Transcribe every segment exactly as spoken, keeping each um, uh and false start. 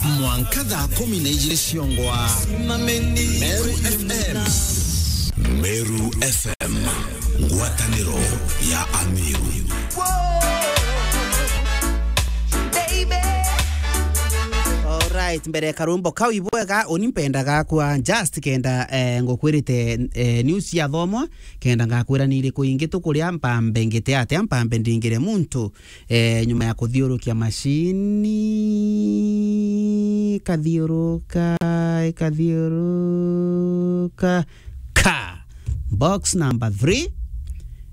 Mwanka thaa kumi na ijiri ciongwa. Meru F M. Meru F M, ngwataniro ya Ameru. Alright, mbere ya karumbo kau ibwega, uni mpenda gakwa, just kenda, eh, ngukwirite, eh, news ya thomwa, kenda ngakwira ni iriku ingi tukuria, mpambe ngite atia, mpambe ndingire muntu, eh, nyuma ya kuthiurukia macini, ikathiuruka, ikathiuruka, ka. Box number three,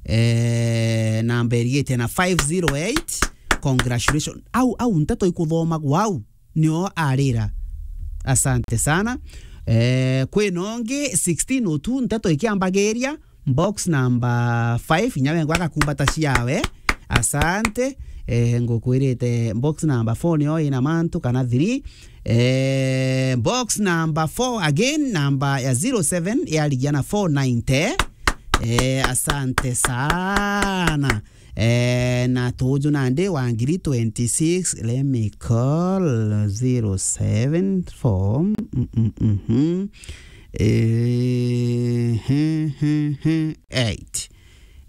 eh, namba irigite na five zero eight. Congratulations. Au, au, nteto ikuthomagwa au. Nio arira. Asante sana. Eh, kwi nongi sixteen oh two, nteto ikiambagiria, box number five, inya wengwa agakumbata ciawe. Asante. Eh, ngukwirite box number four nio ina mantu kana three. Eh, box number four again, namba ya zero seven yarigia na four ninety. Eh, asante sana. Eh, na tuju nandi wa ngiri twenty-six, let me call zero seven four, mm, mm, mm, mm. Eh, he, he, he, eight.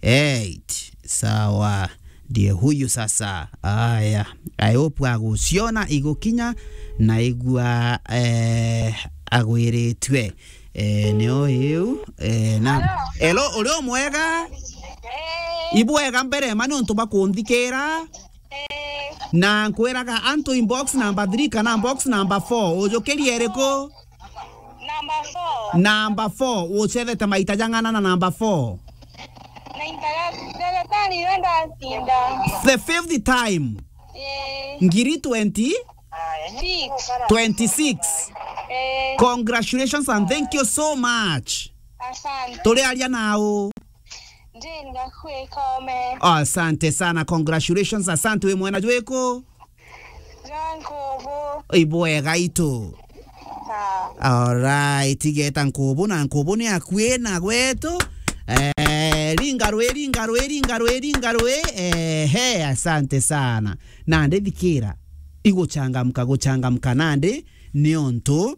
Eight. Sawa. Ndiye huyu sasa. Aya. I hope aguciona igukinya na igua, eh, agwiritue. Eh, nio iu, eh, na Hello. Hello, uri o mwega? Eh. Ibwega mbere ma niuntu bwa kunthikira. Eh. Na nkwiraga antu in box number three kana box number four, ujukirie iriku? Number four. Number four, ucethete maita jang'ana na number four? Naitaga, ndagitari we ndacinda. The fifth time. Eh. Ngiri twenty? Six. Twenty-six. Eh. Congratulations and thank you so much. Asante. Turiaria nau? Jane Gakue Kome. Asante sana, congratulations, asante. Wi mwena jwiku? Jwa Nkubu. Ibwega itu. Sawa. Alright, igeta Nkubu, na Nkubu ni akui na gwetu. Eh, ringa rwi, ringa rwi, ringa rwi, ringa rwi. Eh, he, asante sana. Nandi thikira, iguchangamka, guchangamka nandi, niuntu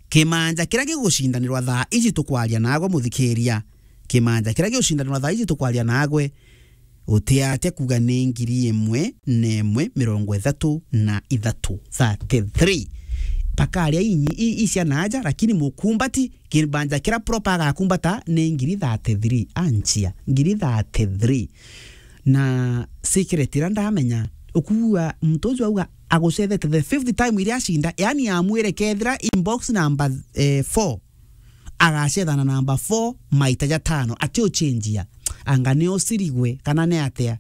kimanja kiria gigucindanirwa thaa iji tukwaria nagwe muthikiria, kimanja kiria gigucindanirwa thaa iji tukwaria nagwe, utiatia kuga ni ngiri imwe na imwe mirongo ithatu na ithatu, thirty-three. Pakaria inyi, i, i cia naaja, lakini mukumbati, kimanja kiria proper agakumbata ni ngiri thirty-three. Anchia, ngiri thirty-three. Na secret iria ndamenya, ukugua muntu uju auga agucethete the fifth time iria acinda, yani amwire kethira in box number, eh, four, agacethana number four maita jatano, ati uchenjia. Anga ni usirigwe, kana ni atia?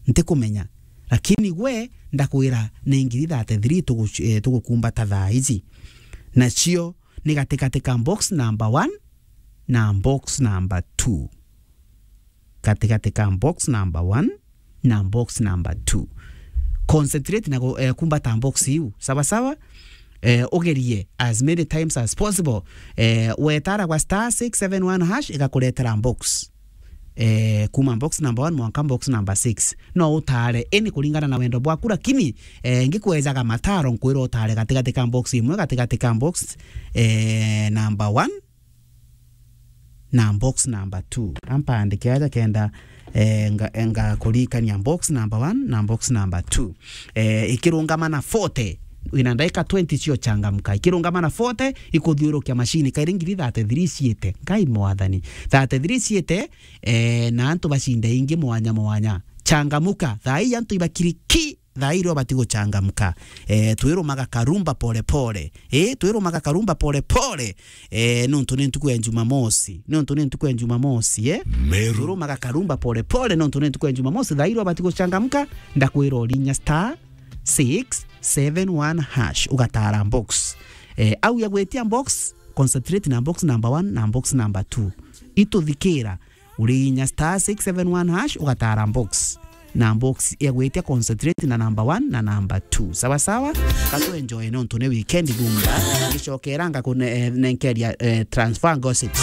Ntikumenya. Lakini gwe, ndakwira ni ngiri thirty-three tugu-, eh, tugukumbata thaa iji. Nacio ni gatigati ka box number one na box number two. Gatigati ka box number one na box number two. Concentrate na gu-, eh, kumbata box iu. Sawa sawa? Eh, ugerie as many times as possible. Eh, wetara gwa star six seven one hash, igakuretera box. Eh, kuma box number one mwanka box number six. No utare, ini kuringana na wendo bwaku, lakini, eh, ngikwejaga mataro, nkwira utare gatigati ka box imwe, gatigati ka box, eh, number one na box number two. Ampandike aja kenda, eh, nga, ngakurikania box number one na box number two. Eh, ikirungama na forty, wina ndaika twenty cio changamka. Ikirungama na forty, ikuthiurukia mashini, kairi ngiri thirty-three ciite. Ngai mwathani. Thirty-three ciite, eh, na antu bacinde ingi mwanya mwanya. Changamuka. Thaa ii antu ibakiri ki, thaa ii rio bati guchangamka. Eh, twirumaga karumba pole pole. Eh, twirumaga karumba pole pole. Eh, nontu ni ntuku ya Jumamosi. Nontu ni ntuku ya Jumamosi, eh? Meru. Twirumaga karumba pole pole, nontu ni ntuku ya Jumamosi. Thaa ii rio bati guchangamka, ndakwira urinya star six seven one hash, ugatara box. Eh, au ya gwitia box, concentrate na box number one na box number two. Ituthikira, uriinya star six seven one hash, ugatara box. Na box ya gwitia concentrate na number one na number two. Sawa sawa? Katu enjoy nontu ni weekend thumba. Ngicokera ngakune-, eh, nenkeria, eh, transfer gossips.